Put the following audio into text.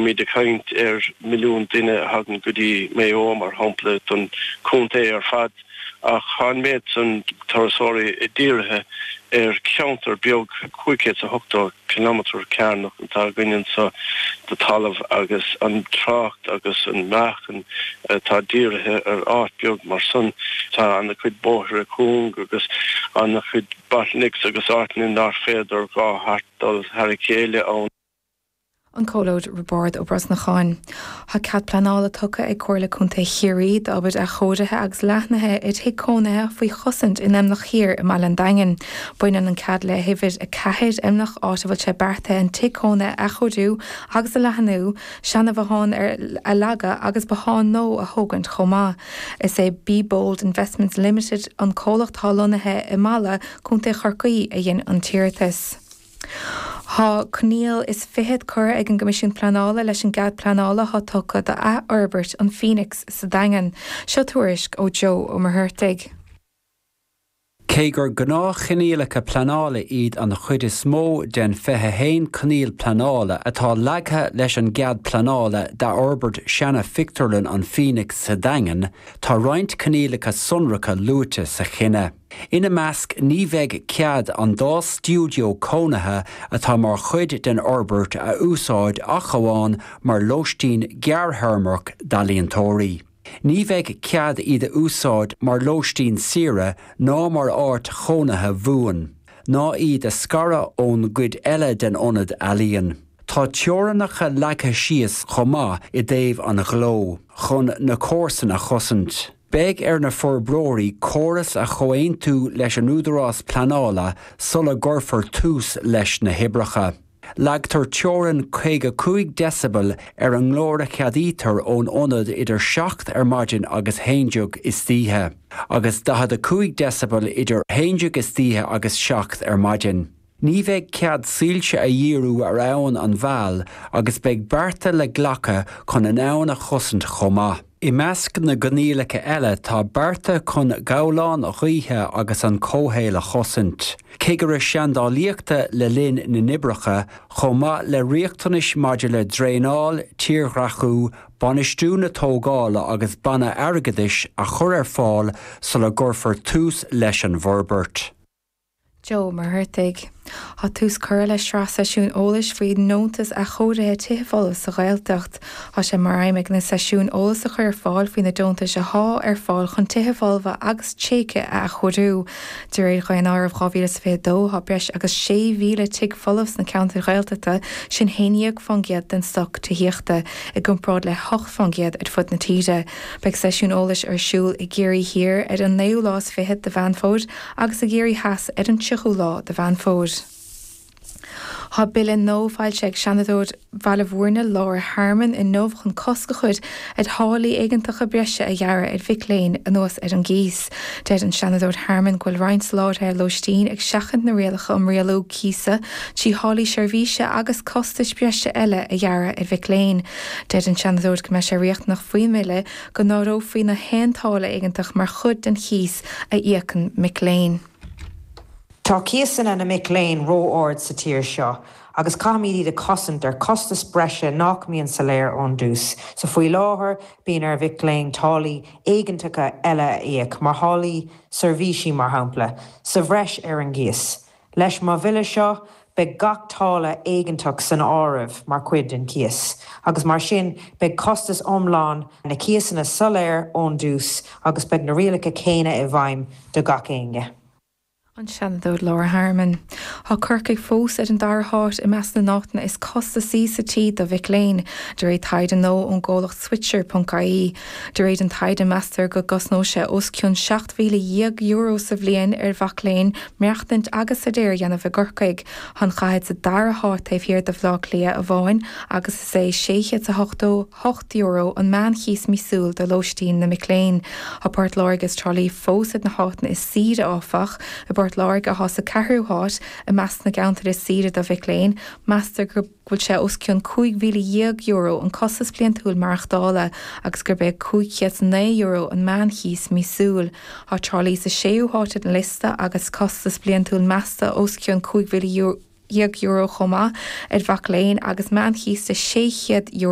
Bímid ag caint ar mhilliún duine a thagann go dtí Maigh Eo, mar shampla, don chontae ar fad, ach tá an méid san turasóirí dírithe ar cheantar beag, 580 cileámetar cearnach atá againn anso de talamh agus an trácht agus an meáchan atá dírithe ar áit beag mar san. Tá ana-chuid bóithre cúng agus ana-chuid bottlenecks agus áiteanna nár féidir dhá chairt dul thar a chéile ann. An Comhluad Roibeárd Ó Brosnacháin. Tá cead pleanála tugtha ag Comhairle Contae Chiarraí d'obair athchóirithe agus leathnaithe ar thigh cónaithe faoi chosaint in Emlach Thiar i mbaile an Daingin. Baineann an cead le huimhir 4, Emlach, áit a bhfuil sé beartaithe an tigh cónaithe a athchóiriú agus a leathnú, seana-bhothán a leagadh agus bothán nua a thógaint chomh maith. Is é Be Bold Investments Limited, an comhlacht atá lonnaithe i Mala, Contae Chorcaí, a dhein an t-iarratas. Tá coinníoll is fichead curtha ag an gCoimisiún Pleanála leis an gcead pleanála atá tugtha d'athfhorbairt an Phoenix sa Daingean. Seo tuairisc ó Joe Ó Muircheartaigh. Cé gur gnáthchoinníollacha pleanála iad an chuid is mó den 21 coinníoll pleanála atá leagtha leis an gcead pleanála d'athfhorbairt seana-phictiúrlann an Phoenix sa Daingean, tá roinnt coinníollacha sonracha luaite sa chinneadh. Ina measc, ní bheidh cead an dá stiúideo cónaithe atá mar chuid den fhorbairt a úsáid ach amháin mar lóistín gearrthéarmach d'ealaíontóirí. Ní bheidh cead iad a úsáid mar lóistín saoire ná mar áit chónaithe bhuan, ná iad a scaradh ón gcuid eile den ionad ealaíon. Tá teorainneacha leagtha síos chomh maith i dtaobh an ghleo, chun na comharsana a chosaint. Beidh ar na forbróirí córas a chomhaontú leis an údarás pleanála sula gcuirfear tús leis na hoibreacha. Leagtar teorainn 55 decibel ar an nglór a cheadaítear ón ionad idir 7 ar maidin agus 11 istoíche, agus 45 decibel idir 11 istoíche agus 7 ar maidin. Ní bheidh cead soilse a dhíriú ar Abhainn an Mheal agus beidh bearta le glacadh chun an abhainn a chosaint chomh maith. I measc na gcoinníollacha eile tá bearta chun gabhláin ghaoithe agus an comhshaol a chosaint, cigire seandálaíochta le linn na n-oibreacha, chomh maith le riachtanais maidir le draenáil, tírdhreachú, bainistiú na tógála agus banna airgeadais a chur ar fáil sula gcuirfear tús leis an bhforbairt. Joe Ó Muircheartaigh. Tá tús curtha le sraith seisiún eolais faoi ndeontais athchóirithe tithe folmha sa Ghaeltacht. Tá sé mar aidhm ag na seisiúin eolas a chur ar fáil faoi na deontais athá ar fáil chun tithe folmha agus tréigthe a athchóiriú. De réir Dhaonáireamh 2022 tá breis agus 6,000 tigh folamh sna ceantair Ghaeltachta, sin 11% den stoc tithíochta, i gcomparáid le 8% ar fud na tíre. Beidh seisiún eolais ar siúl i gCiarraí Thiar ar an naoú lá is fichead de Mheán Fómhair agus i gCiarraí Theas ar an 30ú lá de Mheán Fómhair. Tá bille nua foilsithe ag Seanadóir Bhaile Bhúirne, Laura Harmon, inniu chun cosc a chur ar tháillí éigeantacha breise a ghearradh ar mhic léinn anuas ar an gcíos. Deir an Seanadóir Harmon go bhfuil roinnt soláthraithe lóistín ag seachaint na rialacha um rialú cíosa trí tháillí seirbhíse agus costais breise eile a ghearradh ar mhic léinn. Deir an Seanadóir go mbeidh sé riachtanach faoin mbille go n-áireofaí na haon táille éigeantach mar chuid den chíos a íocann mic léinn. Tá cíosanna na mic léinn ró-ard sa tír seo agus caithfimid iad a chosaint ar chostas breise nach mbíonn soiléir ón dtús. So faoi láthair bíonn ar mhic léinn táillí éigeantacha eile a íoc, mar tháillí seirbhísí mar shampla, sa bhreis ar an gcíos. Leis mo bhille seo, beidh gach táille éigeantach san áireamh mar chuid den chíos, agus mar sin beidh costas iomlán na cíosanna soiléir ón dtús agus beidh na rialacha céanna i bhfeidhm do gach éinne. An Seanadóir Laura Harmon. Tá Corcaigh fós ar an dara háit i measc na n-áiteanna is costasaí sa tír do mhic léinn, de réir taighde nua ón gcomhlacht Switcher.ie. De réir an taighde, meastar go gcosnóidh sé os cionn €17,000 sa bhliain ar mhac léinn maireachtaint agus staidéar a dhéanamh i gCorcaigh. Tá an chathair sa dara háit taobh thiar de Bhaile Átha Cliath amháin agus is é €688 an meánchíos míosúil do lóistín na mic léinn. Tá Port Láirge is Trá Lí fós ar na háiteanna is saoire, áfach. I bPort Láirge, atá sa ceathrú háit i measc na gceantar is saoire do mhic léinn, meastar go bhfuil sé os cionn €15,000 an costas bliantúil maireachtála agus gurb é €509 an meánchíos míosúil. Tá Trá Lí sa séú háit ar an liosta agus costas bliantúil measta os cionn €15,000 chomh maith ar mhac léinn agus meánchíos de €600.